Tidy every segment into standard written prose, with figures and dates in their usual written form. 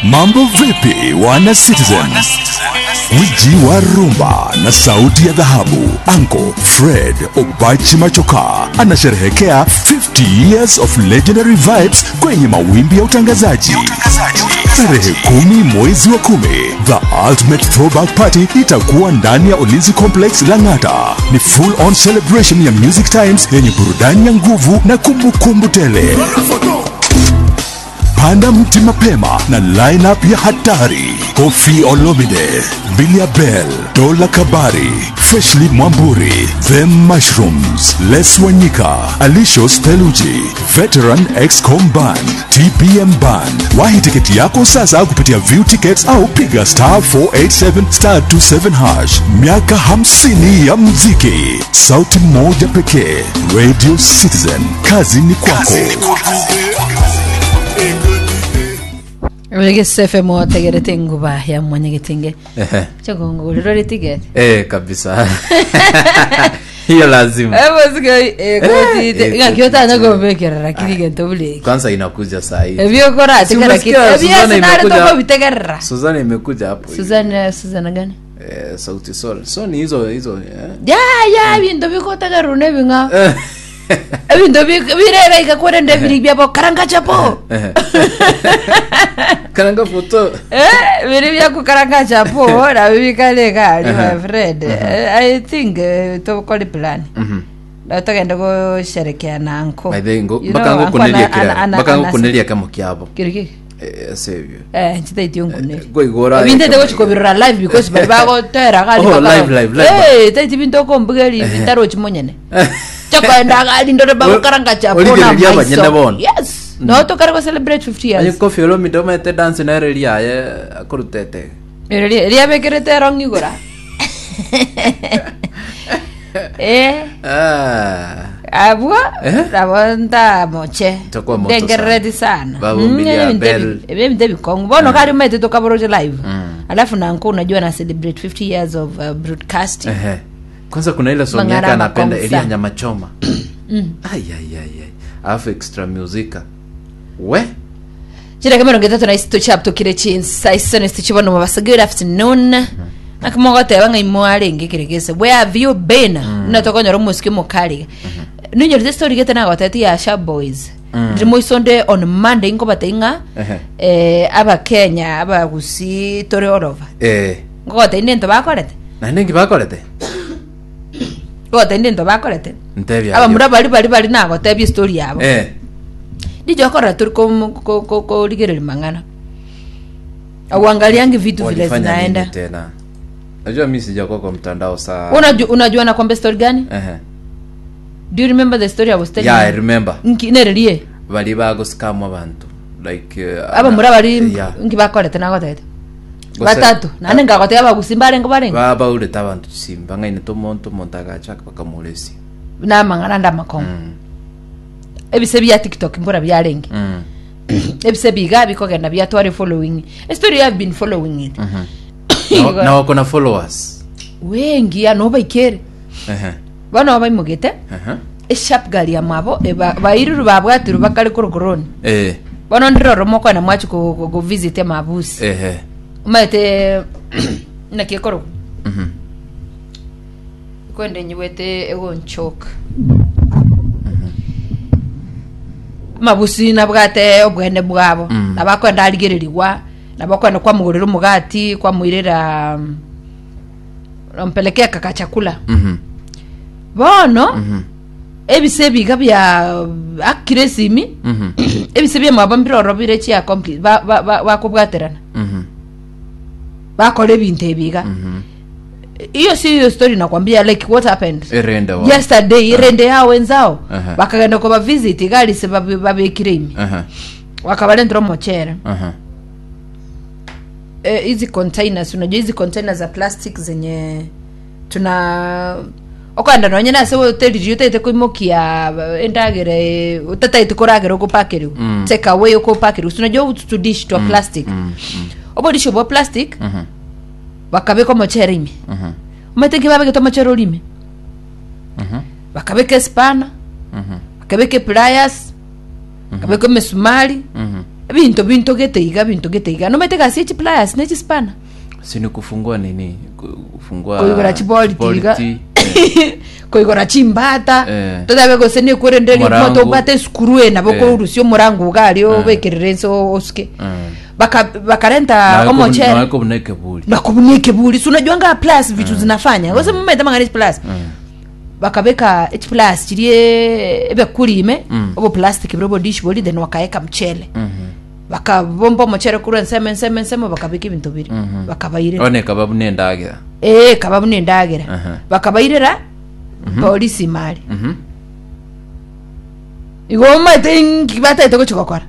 Mambo vipi wana Citizen? Gwiji wa rumba na sauti ya dhahabu Uncle Fred Obachi Machoka anasherehekea 50 years of legendary vibes kwenye mawimbi ya utangazaji. Tarehe kumi mwezi wa kumi, the ultimate throwback party itakuwa ndani ya Ulinzi Complex Lang'ata. Ni full on celebration ya Music Times yenye burudani ya nguvu na kumbukumbu tele. Panda mti mapema na lineup ya hatari: Koffi Olomide, Bilia Bell, Dola Kabari, Freshly Mwamburi, The Mushrooms, Les Wanyika, Alisho Theluji, Veteran Excom Band, TPM Band. Wahi tiketi yako sasa kupitia View Tickets au piga star 487 star 27 hash. Miaka 50 ya muziki, sauti moja pekee, Radio Citizen. Kazi ni kwako. Egese FM otegerete enguba ya mwanyagetinge Ehe. chokongorero ritigete Eh, kabisa hiyo lazima Eh, ng'aki otanya eh, kobekerera lakini gento buleki kwanza inakuja saa hii ebiokora Si tegera kitu umesikia Suzana ebiasinare imekuja- tokobitegerera Suzana imekuja hapo hivi. Suzana Suzana gani eh, sauti sol so ni hizo hizo eh. ya ya binto bikotegererwa nebing'ao ebinto birega igakorende ebiri biabo karanga chapo Eh. karanga foto Eh, biri byakukaranga chapo nabyo bikare gari my Aha. friend Eh, i think eh, tokore plan Mhm. Na togende gusherekea na anko By the way, ngo- You mpaka know, ngo uncle kuneria ana- kirara ana- mpaka ngo ana- kuneria kamo kiabo Kiri kiki? eh sevyo Eh, nchitaitio nkuneri goigora ebinto gochikobirora live because bari bagotera gari Oh, bakaba- live, live, live. Eh, taiti binto okombugeri bitarochi monyene chakwenda gari ndore bagokaranga chapo na Origereria abanyene maiso bono. yes no tokare go celebrate 50 Aye years kofi olomide omete dance nere riaye akorutete Eri- riabekerete erong igora eh ah abwo Eh? nabo ntamoche Itakuwa moto ndengerereti sana Babu Mbilia Bell. ebinto ebikong'u bono kari maete tokaboroche live Mm. alafu nanko unajua na celebrate 50 years of uh, broadcasting Ehe. Kwanza kuna ile song Mang'ara yake anapenda makonsa. Elia nyama choma. Ai ai ai ai. Alafu extra musica. We? chireke mirongo etato na isito chiaptokire chinsa isano isito chibono mabasa good afternoon nakimogoteba ng'a imo arenge keregese where have you been mm. tokonyora omosike omokariga ninyorete story gete nagoteti ya sha boys Mm. ndiri moisonde on monday nkobatei ng'a Ehe. eh, abakenya abagusi tore all over Eh. nkogotei nento bakorete Na ningi bakorete? nkogotei nento bakorete Ntebia. abamura bari bari bari nagotebia story yabo Eh. ndijokorera turi kom- ko- ko- korigereria mang'ana auangaliangi vitu vile Walifanya nini zinaenda tena? Najua mimi sijakuwa kwa mtandao saa. unajua unajua nakwambia story gani Ehe. do you remember the story i was telling Yeah, I you? remember. Nki- nererie Bali bago scam abantu. Like uh, abamura bari Yeah. nki bakorete nagotete Gose- batatu nane ngagoteba abagusi mbarenge barenge Ba baurete abantu simba ng'aine tomonto omonto agachaka bakamuresi. namang'ana ande amakongo Mm. ebise bia tiktok mbora biarenge Mm. ebise biga bikogenda biatware following a story i've been following it Mhm. Na- na wako na followers. wengi ano baikere Ehe. bono baimogete Ehe. esharp gari ya mwabo eba- bairuru babwatiru bakare korokoroni Eh. bono ndiroro mokoenda mwachi go, go, go visit emabusi Ehe. omanyete naki ekorokwa Mhm. kwende nyigwete egonchoka amabusi nabwate obwene bwabo Mm. nabo akwenda arigererigwa nabo akwenda kwamugorera omogati kwamoirera mm, ompelekea kaka chakula Mhm. bono Mhm. ebise ebiga bia akire esimi Mhm. ebise biamwabo mbiroro bire chia complete ba- ba- ba- bakobwaterana Mhm. bakora ebinto ebiga Mhm. hiyo si hiyo story nakwambia like what happened Erende wao. yesterday irende yao wenzao Aha. bakagenda koba visit igalise babekire ime Aha. wakabarentera omochere Aha. Eh, hizi containers unajua hizi containers za plastic zenye tuna okwenda nonye nase hoteli otaete koimokia eh, endagera eh, otataete koragera okopakerwa Mm. take away okopakerwa unajua utu tudish twa plastic Mm. Mm. obodisho bwa plastic Mhm. bakabeka omochere ime Mhm. omanyete nki babegete omochere ore ime Mhm. bakabeka espana Mhm. bakabeka epliers bakabeka emesumari Mhm. Ebinto bintogete iga bintogete iga. Nomanyete egasi ye chipliers ne chispanner? Si ni kufungua nini? Kufungua Koigora chibolti iga. chibolti, eh. Koigora chimbata. Eh. Totabe gose nekwerende ri Omorango. moto obwate esukuru eye nabo Eh. okorusia omorango iga aria obekerere ense osuke. Mm. Baka bakarenta omochere. Nawe kobuna ekeburi. Nakobuna ekeburi. Si unajua nga plus vitu zinafanya. Gose momanyete amang'ana echiplus. Bakabeka echiplus chiria ebekuri ime, oboplastic bore obodish boria then bakaeka mchele. Bakabomba omochere korwa ensemo ensemo ensemo bakabeka ebinto biria. Bakabairera. One ekaba buna endagera. Eh, ekaba buna endagera. Aha. Bakabairera polisi imari. Igo omanyete inki bataete gochia gokora?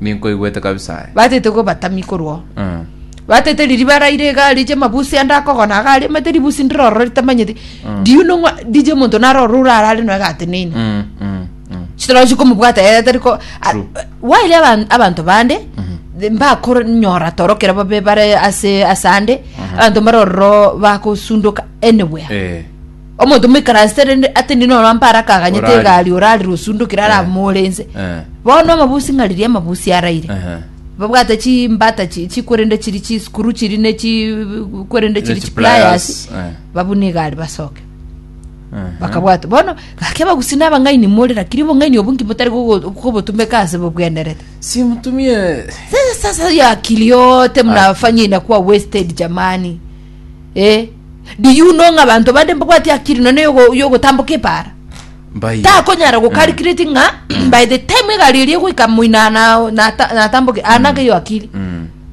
Ninkoigwete kabisa aye. Bataete kobatamia korwa oo. Mm. Bataete riria baraire iga riche amabusi ande akogona iga aria omanyete ribusi ndire ororo ritamanyeti. Do you know ng'a DJ omonto nare ororo orarare nonya gateneine. Mm, mm, mm. Chitoro chikomobwata ere tari ko a- True. while aban- abanto bande mbakonyora toro kero babe bare ase asande abanto mbare ororo bakosundoka anywhere. Eh. Omonto moikaransete rende atenene nonya mpare akaganyete Orari. egari orarire osundokire aramore inse. Eh. Bono amabusi ng'a riria amabusi araire. Ehe. Babwate chimbata chi- chikwerende chiri chisukuru chiri ne chikwerende chiri Ne chipliers chipliers, eh. babune egari basoke. Ehe. Bakabwata bono gaki abagusii na abang'aini more lakini obong'aini obo nki motari gogo- kobotumeka ase bobwenerete. Si mtumie Sasa sasa ya akili yote mnafanya inakuwa wasted jamani. Eh, do you know ng'a abanto bande mbabwati akili nonya yogo- yogotamboka epaara? Mbai. Takonyara gocalculate ng'a by the time egari eria egoika moina na- nata- natamboke anake iyo akili.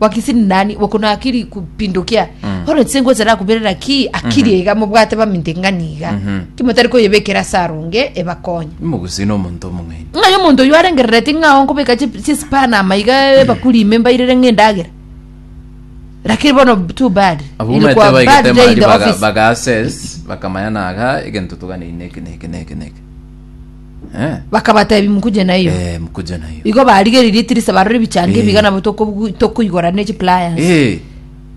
Wakisi ni nani wako na akili kupindukia. Bono inche ngocha nakuberera ki akili iga mobwate baminto ing'ani iga. Ki motari koyebekera ase arunge ebakonye. Omogusii na omonto omong'aini. Ng'ai omonto oyio arengerereti ng'a onkobeka chi- chisipana amaiga ebakuri ime mbairere ng'a endagera. Lakini bono too bad. Abwo Ilikuwa omanyete bad baigete day in mari the baga, office. baga assess bakamanya naga egento toganeine eke neke neke neke. Eh. Bakabatebi mukuje na hiyo. Eh, mukuje na hiyo. Igo barigereria etirisa barore ebichanga Eh. ebiga nabo tokobu- tokoigora ne chipliers. Eh.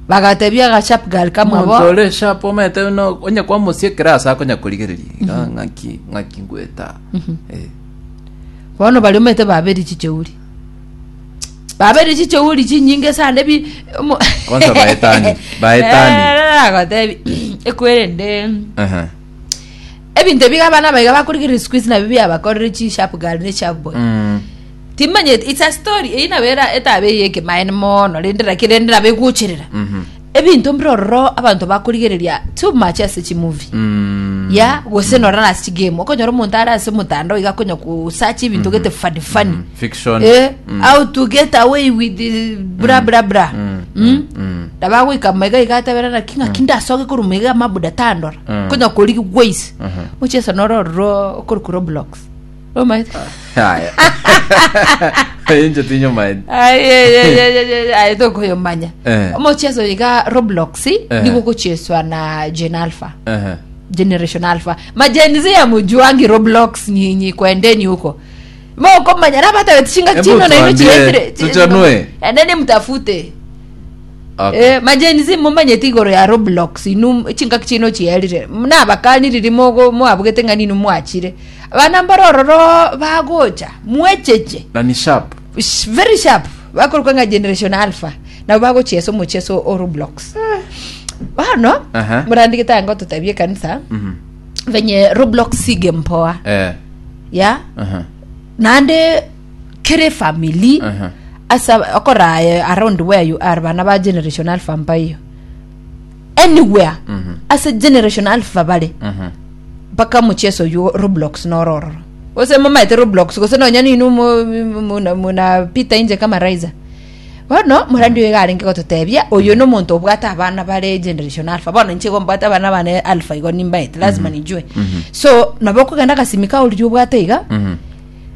Bagatebia aga sharp girl Omonto kamwabo. ore sharp omanyete no onye kwamosiekera ase akonya korigereria iga ng'aki ng'aki ngweta. Eh. Bono baria omanyete baberi chicheuri. Babere chicheuri chinyinge sana ebi omo- Kwanza baetani, baetani. Eh, agotebi ekwerende Aha. ebinto ebiga abana abaiga bakorigereria siku hizi nabio biabakorire chi sharp girl ne sharp boy Mm. timanyeti it's a story eyio nabo era etabe eye ekemaene mono rende lakini rende nabo egocherera Mhm. ebinto mbire ororo abanto bakorigereria too much ase chimovie Mm. ya gose nora nase chigame okonyora omonto are ase omotandao iga akonya kosearch ebinto gete funny funny Fiction. eh, Mm. how to get away with the bra bra bra Mm. Mm. Mm. ndabagoika maiga iga atabera naki ng'aki ndasoke korwa maiga amabuda tandora Mm. konya korigi ways Mhm. mocheso noro ororo okorokwa roblox omaete Haya. Inche tinyomaeti. aye tokoyomanya Eh. omocheso iga roblox Eh. nigo gocheswa na gen alpha Ehe. generation alpha magen z amujuangi roblox nyinyi kwendeni huko mokomanya nabatabeti chinga Hebu chino naino tuambie, chietire tuchanue. endeni mtafute Okay. Eh, magen z mumanyete igoro ya roblox inu chingaki chino chierire nabakaniriri mogo mwabugete ng'a ninu mwachire abana mbare ororo bagocha mwecheche Na ni sharp. Very sharp bakorokwa ng'a generation alpha nabo bagochiesa omocheso o roblox bono Aha. morandike tanga ototebie ekanisa Mhm. venye roblox sige mpoa Eh. ya Aha. naende kere family Aha. asa okoraye around where you are bana ba generation alpha mbaiyo anywhere Mhm. ase generation alpha bare Mhm. mpaka mucheso oyo roblox noro ororo gose momaete roblox gose nonya ninu munapita inje kama raiza bono morandi oyo iga arenge gototebia oyo na omonto obwate abana bare generation alpha bono inche igo mbwate abana bane alpha igo nimbaete lazima nijue so nabo okogenda agasimi kao riria obwate iga Mhm.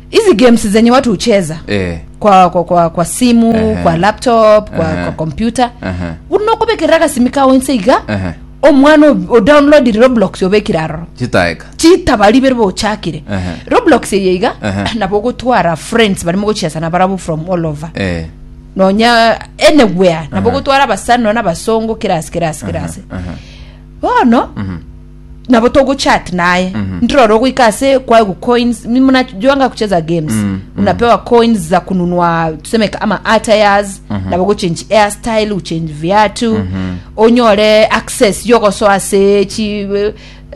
hizi games zenye watu hucheza Eh. kwa, kwa, kwa, kwa simu Ehe. kwa laptop kwa, Ehe. kwa computer Ehe. buna okobekerera agasimi kao inse iga Ehe. omwana o- odownloadire roblox obekire aroro Chitaeka. chitabari bere bochakire Ehe. roblox eye iga Ehe. nabo ogotwara friends barimo gochiesa na barabwo from all over Eh. nonya anywhere nabo Ehe. ogotwara abasani nonya abasongo kirasi kirasi kirasi Ehe. bono Mhm. Nabo togochat naye. Ndirore ogoika ase kwaegwa coins, mi mnajuanga kucheza games. Unapewa coins za kununua tuseme kama attires, nabo gochange hairstyle, uchange viatu, onyore access yogosoa ase chi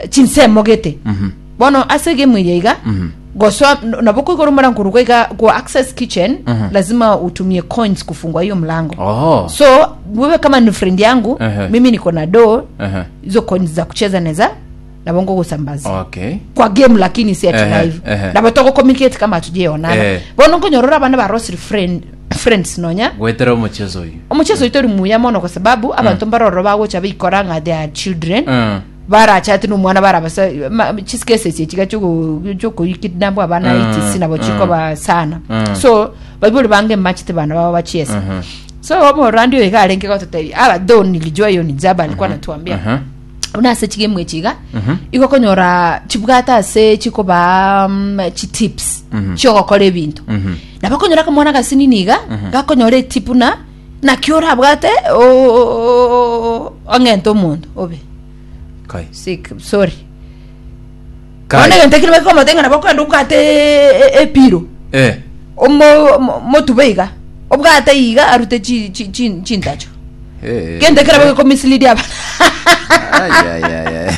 chinsemo gete. Bono ase egame eye iga, gosoa nabo koigora omorango korwa iga go access kitchen, lazima utumie coins kufungua hiyo mlango. Oh. So wewe kama ni friend yangu, Ehe. mimi niko na do Ehe. hizo coins za kucheza neza nabo ngogosambaza Okay. kwa game lakini si ati Ehe, live ehe. nabo togo communicate kama hatujaonana Eh. bono nkonyorora abana barosire friend friends nonya Gwetera omochezo oyo. omochezo oito ori muya mono kwa sababu abanto mbaroro bagocha baikora ng'a they are children Mm. barachate nomwana barabasa chisikese echi chiga chiokoikidnabwa abana etc nabo chikoba sana so baibori bange mbachete bana babo bachiese so omorandi oyo iga arenge gototebia aba though nilijua hiyo ni jaba alikuwa anatuambia buna ase chigame echi iga igo okonyora chibwate ase chikobaa chitips chiogokora ebinto nabo okonyora akamwana gasinini iga gakonyora etip buna naki orabwate ong'ente omonto obe Kai. sick sorry Kai. bono egento ekio nabo ng'a nabo okogenda obwate epiro Eh. omo motube iga obwate iga arute chi chi chi chintacho Eh. gento ekero bagekomislead abana Ai, ai, ai, ai.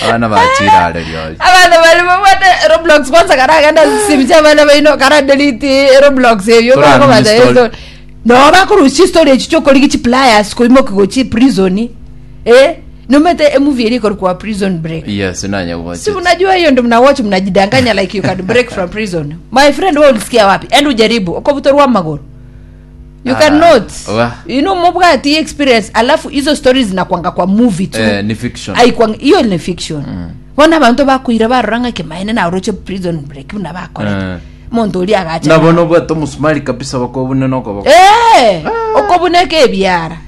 Abana bachire are riori. abana bari babwate roblox kwanza karagenda simu chia abana baino kara delete roblox eyo Tora bakobata uninstall. ezo no bakorusia chistory echi chiokorigia chipliers koimoki gochi prison eh nomete emovie eri ekorokwa prison break Yes, nanya watch. si unajua hiyo ndio mnawatch mnajidanganya like you can break from prison my friend wewe ulisikia wapi and ujaribu okobutorwa magoro you Ah, cannot wa. you know mobwati experience alafu hizo stories zinakwanga kwa movie tu Eh, ni fiction. aikwanga hiyo ni fiction bona abanto bakuira barora ng'a kemaene naroche prison break buna bakorete Eh. monto oria agacha Nabo nobwate omusumari kabisa bakobune nokoboko. eh okobuneka ebiara.